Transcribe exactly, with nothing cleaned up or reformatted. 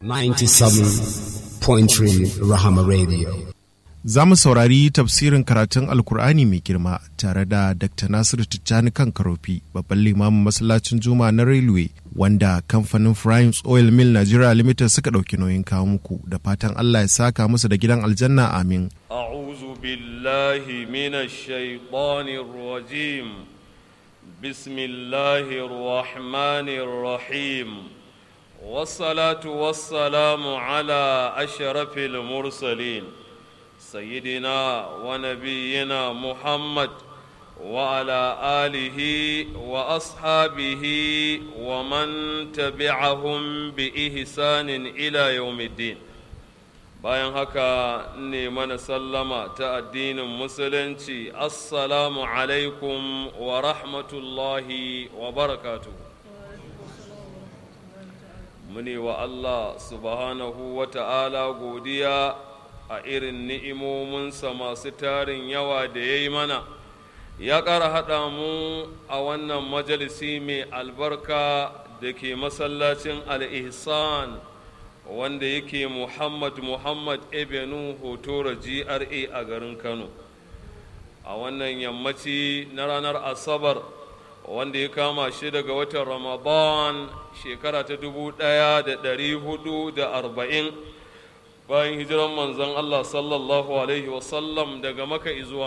ninety-seven point three Rahama Radio. Za mu saurari tafsirin karatun Alkur'ani mai girma tare da Doctor Nasiru Tijjani kan Karofi, babban limamin masallacin Juma'a na Railway, wanda kamfanin Primes Oil Mill Nigeria Limited suka ɗauki nauyin kawo muku, da fatan Allah ya saka musu da gidan aljanna, amin. أعوذ بالله من الشيطان الرجيم. بسم الله الرحمن الرحيم، والصلاة والسلام على أشرف المرسلين، سيدنا ونبينا محمد وعلى آله وأصحابه ومن تبعهم بإحسان إلى يوم الدين. Bayan haka, ne mana sallama ta addinin Musulunci: assalamu alaikum wa rahmatullahi wa barakatuhu. Mune wa Allah subhanahu wa ta'ala godiya a irin ni'imominsa masu tarin yawa da ya yi mana, ya ƙara haɗa mu a wannan majalisi mai albarka da ke masallacin Al-Ihsan, wanda yake Muhammad Muhammad Avenue, Hotoro G R A a garin Kano, a wannan yammaci na ranar Asabar, wanda ya kama shi daga watan Ramadan, shekara ta dubu ɗaya da ɗari hudu da arba'in bayan hijiran Manzon Allah sallallahu alaihi wasallam daga Maka zuwa